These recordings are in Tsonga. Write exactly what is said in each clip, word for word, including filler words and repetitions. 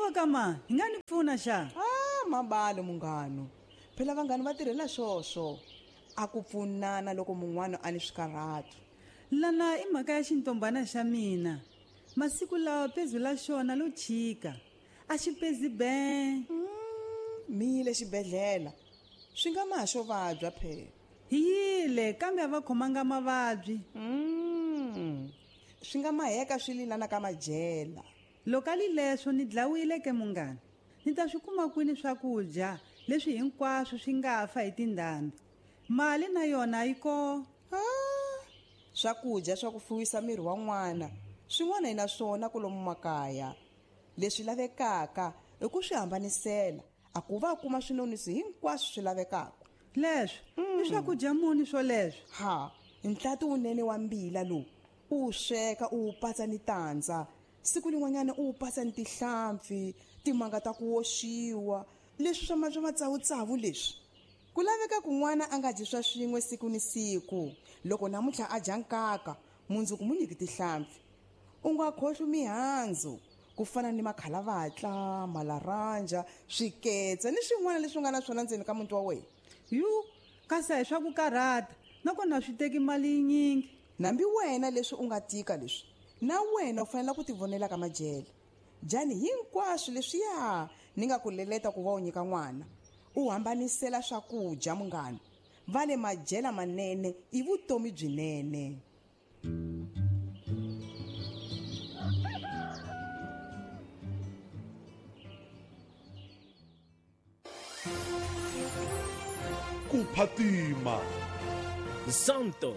Ewa kama, hi nga ni pfuna xa? Ah, mabalo munghano. Phela vanghani va tirhela swoswo. A ku pfunana loko mun'wana a ni swikarhato. Lana i mhaka ya xintombana xa mina. Masiku lawa pezu la xona lo chika. A xi pezi ben. Mm, mi yile xibedhlele. Swi nga ma xo vabya phela. Hi yile kambe a va khomanga mavabyi. Mm. Swi nga maheka swi lilana ka majela. Loko a li leswo ni dlawile ke munghana. Ni ta swi kuma kwini swakudya leswi hinkwaswo swi nga fa hi tindhambi. Mali na yona yi ko. Ah, swakudya swa ku fuwisa miri wa n'wana swin'wana hi na swona kulomu makaya. Leswi lavekaka i ku swi hambanisela a ku va kuma swinonisi hinkwaswo swi lavekaka. Leswi i swakudya muni swoleswo? Ha, ntlati wunene wa mbila lowu u wu sweka u wu patsa ni tandza. Siku lin'wanyana u wu patsa ni tihlampfi, timanga ta ku oxiwa, leswi swa swa matsavutsavu leswi. Ku laveka kun'wana a nga dyi swa swin'we siku ni siku. Loko namuntlha a dya nkaka, mundzuku mu nyiki tihlampfi. U nga khohlwi mihandzu ku fana ni makhalavatla, malaranja, swiketse ni swin'wana leswi nga na swona ndzeni ka muti wa wena. Yu, kasi a hi swa ku karhata, nakona swi teki mali yinyingi. Nambi wena leswi u nga tika leswi, na wena u fanele ku tivonela ka majele. Dyani hinkwaswo leswiya ni nga ku leleta ku va u nyika n'wana. U hambanisela swakudya munghana. Va le majela manene i vutomi byinene. Ku phatima. Santo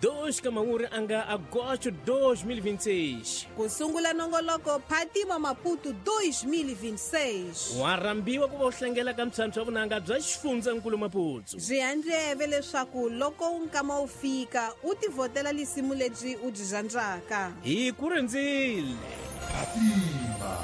dois Kamauri anga agosto dois mil e vinte e seis. Ku sungula nongoloko Phatima Maputo dois mil e vinte e seis. Wa rhambiwa ku va u hlangela ka mphyamphya wa vunanga bya xifundzankulu Maputo. Byi handleve leswaku loko nkama wu fika u tivhotela lisimu lebyi u byi rhandzaka. Hi ku rindzile. Phatima.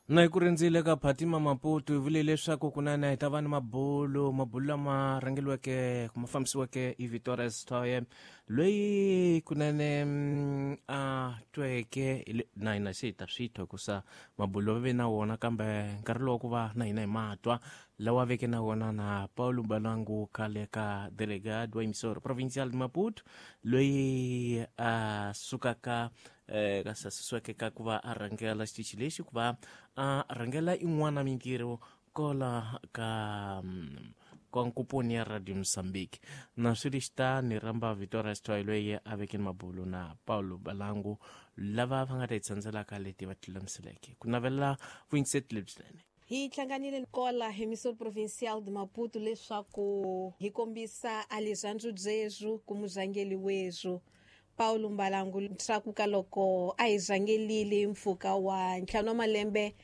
Na hi ku rindzile ka Phatima Maputo hi vule leswaku kunene hi ta va ni mabulu mabulu lama rhangeliweke ma fambisiweke hi Victoria Stoye loyi kunene a tweke na hina se hi ta swi twa hikusa mabulu va ve na wona kambe nkarhi lowu ku va na hina hi matwa lawa veke na wona na Paulo Balangu khale ka delegado wa emissora provincial de Maputo loyi a sukaka eh ka sasisiweke ka ku va a rhangela xitichi lexi ku va a rhangela in'wana mintirho kola ka ka nkuponi ya Radio Mozambique. Na swi lexitani rhamba Victoria Stoye loyi a veke ni mabulu na Paulo Balangu lava va nga ta hi tsandzelaka leti va tilulamiseleke ku navela vuyingiseti lebyinene. Hi hlanganile kola emissora provincial de Maputo leswaku hi kombisa alirhandzu byezwu ku murhangeli wezwu Paulo Mbalangu ntshaku ka loko a hi rhangelile mpfhuka wa ntlhanu wa malembe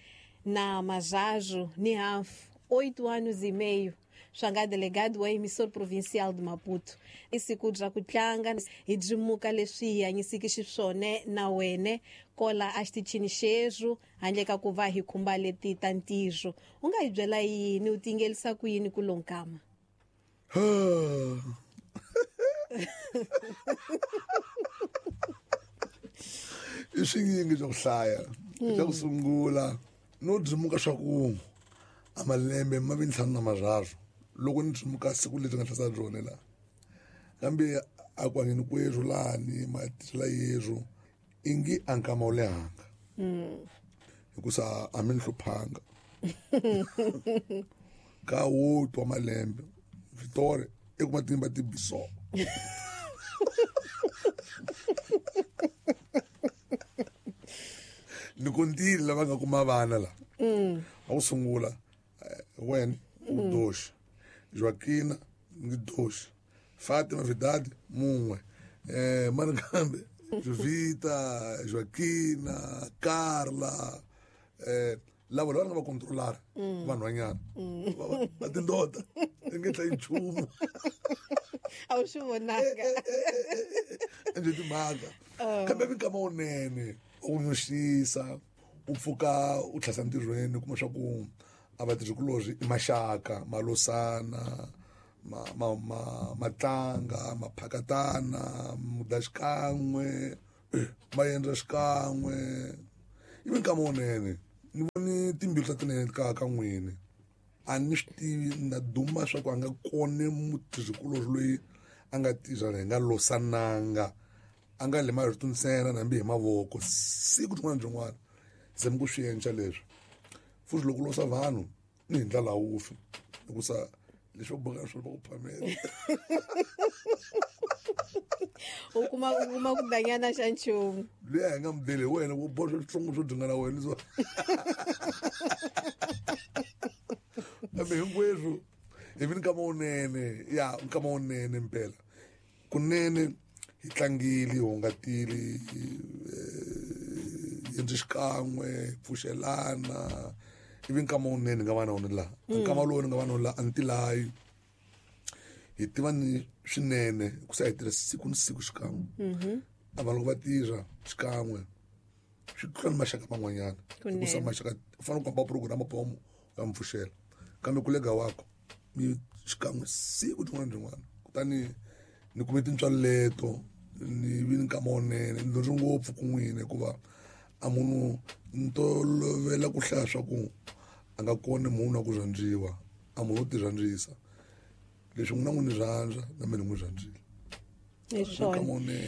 na mazazu ni hafu oito anos e meio swa nga delegado wa emissora provincial de Maputo. I siku bya ku tlanga hi byimuka leswi hi hanyisiki xiswona na wene kola a xitichini xezwu handle ka ku va hi khumba leti ta ntirho. U nga hi byela yini u tingelisa ku yini ku lonkama? I swinyingi bya ku hlaya. Bya ku sungula no byimuka swa ku a malembe ma vi ntlhanu na marharhu loko ni byimuka siku leri nga hlasela byona la kambe a ku hanyeni kwerhu lani matirhela yerhu ingi a nkama wu lehanga hikusa a mi ni hluphanga ka wo twa malembe Victoria i kuma timba tibiso. Ni kontile lava nga kuma vana la. A ku sungula wena u doxa Joaquina ngi doxa Fatima Vidad mun'we eh mani kambe Jovita Joaquina Carla eh lavo lava nga va controlar vanhwanyana va tindota i nge hlayi nchumu a wu swi vonanga ende timhaka kambe minkama wunene u nyoxisa u pfuka u tlhasa ntirhweni u kuma swa ku a vatirhikulorhi i maxaka malosana ma ma ma matlanga maphakatana mudaxikan'we ma endla xikan'we Ivi nkama wunene ni voni timbilu ta tinene ka ka n'wini a ni swi tivi na duma swa ku a nga kone mutirhikulori loyi a nga tirha hi nga losananga a nga le marito ntsena hambi hi mavoko siku rin'wana na rin'wana se mi ku swi endla leswi futhi loko losa vanhu ni hi ndlela wufi hikusa leswi boka swi va ku phamela u kuma u kuma ku danyana xa nchumu leyi a nga mudeli wena wo boxa switsongo swo dyinga na wena so kambe hinkweswo hi vi nkama wunene ya nkama wunene mpela kunene hi tlangile hi hungatile hi endle xikan'we pfuxelana ivi nkama wunene nga va na wona laha nkama lowu ni nga va na wona laha a ni tilayi hi tiva ni swinene ku se hi tirha siku ni siku xikan'we a vanhu loko va tirha xikan'we swi tlula ni maxaka man'wanyana hikusa maxaka u fanele ku hamba program bomo ya mi pfuxela kambe ku lega wako mi xikan'we siku rin'wana na rin'wana kutani ni kume tintswalo leto ni vi ni nkama wunene ni dyondze ngopfu ku n'wina hikuva a munhu ntolovela ku hlaya swa ku a nga koni munhu wa ku rhandziwa a munhu wo ti rhandzisa leswi n'wina n'wi ni rhandza na mina n'wi rhandzile hi swona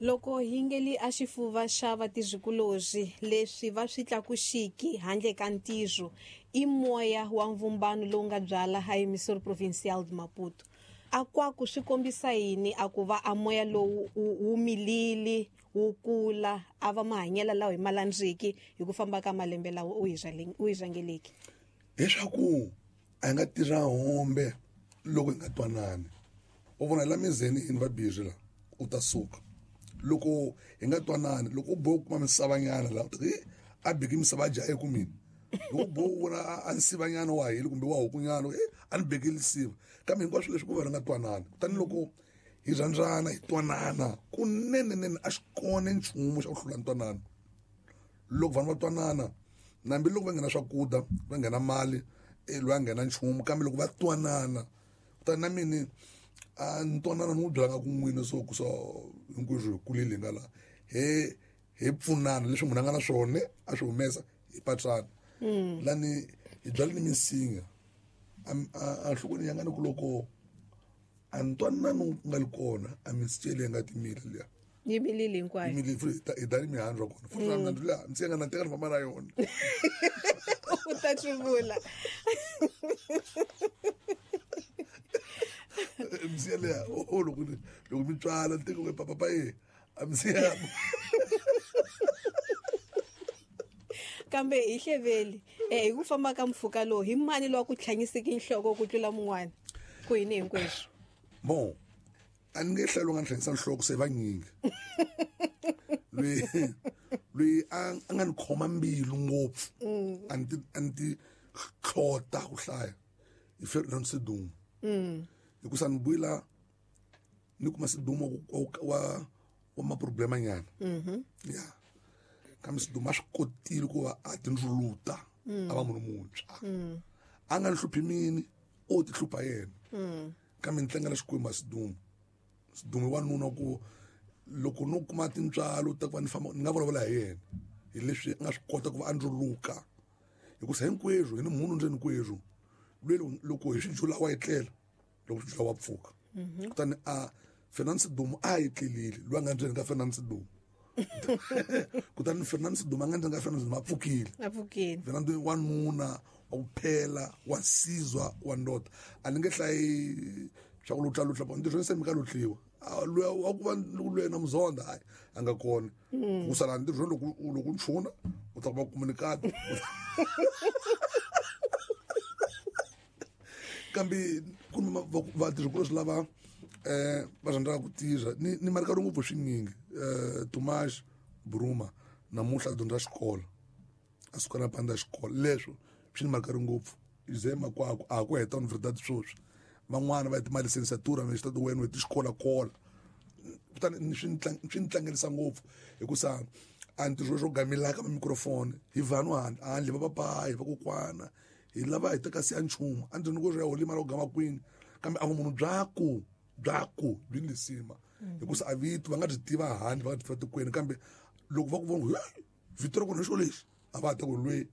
loko hi ngeli a xifuva xa vatirhikulozi leswi va swi tlakuxiki handle ka ntirho i moya wa mvumbano lowu nga byala ha emissora provincial de Maputo a kwaku swi kombisa yini a ku va a moya lowu wu milili wu kula a va mahanyelo lawa hi malandziki hi ku famba ka malembe lawa u hi u hi rhangeleki leswaku a nga tirha hombe loko hi nga twanani u vona la mizeni hi ni va busy la u ta suka loko hi nga twanani loko u bohe ku kuma misavanyana la a biki misava a dya eku mina loko u bohe u vona a nsivanyana wa hile kumbe wa hukunyana a ni bekeli siva kambe hinkwaswo leswi ku va ri nga twanani kutani loko hi rhandzana hi twanana kunenenene a xi kona nchumu xa ku hlula ntwanano loko vanhu va twanana nambi loko va nghena swakudya va nghena mali loyi a nghena nchumu kambe loko va twanana kutani na mini a ntwanano ni wu byalanga ku n'wina so ku so hinkweswo hi kulile hi nga laha he hi pfunana leswi munhu a nga na swona a swi humesa hi patsana lani hi byale ni minsinya a nhlokweni ya nga ni ku loko a ntwanano wu nga li kona a minsinya leyi nga timile liya yi milile hinkwayo yi milile futhi hi dali mihandzu ya kona futhi na mina liya minsinya nga na teka ni famba na yona u ta tsuvula misinya liya o loko loko mi tswala ni teka papa e a misinya kambe hi hleveli eh hi ku famba ka mpfhuka lowu hi mani lowa ku tlhanyiseki nhloko ku tlula mun'wana ku yini hinkweswo bon a ni nge hlayi nga ni hlanyisa nhloko se vanyingi loyi loyi a nga ni khoma mbilu ngopfu a ni a ni ti tlhota ku hlaya hi Ferdinand Sidumo hikusa ni buyila ni kuma Sidumo wa wa maproblema nyana ya kambe Sidumo a swi kotile ku va a tindzuluta a va munhu muntshwa a nga ni hluphi mini o ti hlupha yena kambe ni tlangela Xikwembu a Sidumo Sidumo i wanuna ku loko no kuma tintswalo ta ku va ni famba ni nga vulavula hi yena hi leswi a nga swi kota ku va a ndzuluka hikusa hinkweswo hi ni munhu ndzeni kweswo loyi loko hi swi jula wa etlela loko swi jula wa pfuka kutani a Fernand Sidumo a etlelile loyi a nga ndzeni ka Fernand Sidumo kutani Fernand Sidumo a nga ndzeni ka Fernand Sidumo a pfukile a pfukile Fernand wanuna wa ku phela wa sizwa wa ndoda a ni nge hlayi swa ku lutla lutla ntirho se mi ka lutliwa loyi wa ku va loyi na muzonda hayi a nga kona ku sala ntirho loko loko nchuna u ta kuma communicate kambe ku vatirhikulu lava eh va rhandzaka ku tirha ni ni marika ngopfu swinyingi eh Tomas Bruma namuntlha a dyondza xikolo a suka na panda xikolo leswo swi ni marika ngopfu ize makwako a ku heta universidade sweswi van'wana va heta malicensatura na xitatu wena heta xikola kola kutani swi swi ni tlangelisa ngopfu hikusa a ntirho swo gamilaka microphone hi vanhu handle va papayi va kokwana hi lava hi teka siya nchumu a ndzi ni ku ri ya holima la ku gama kwini kambe a vumunhu byaku byaku byi ni lisima hikusa a vito va nga byi tiva handle va nga byi tiva tikweni kambe loko va ku vona vito ra kona xo lexi A va ta ku lwe.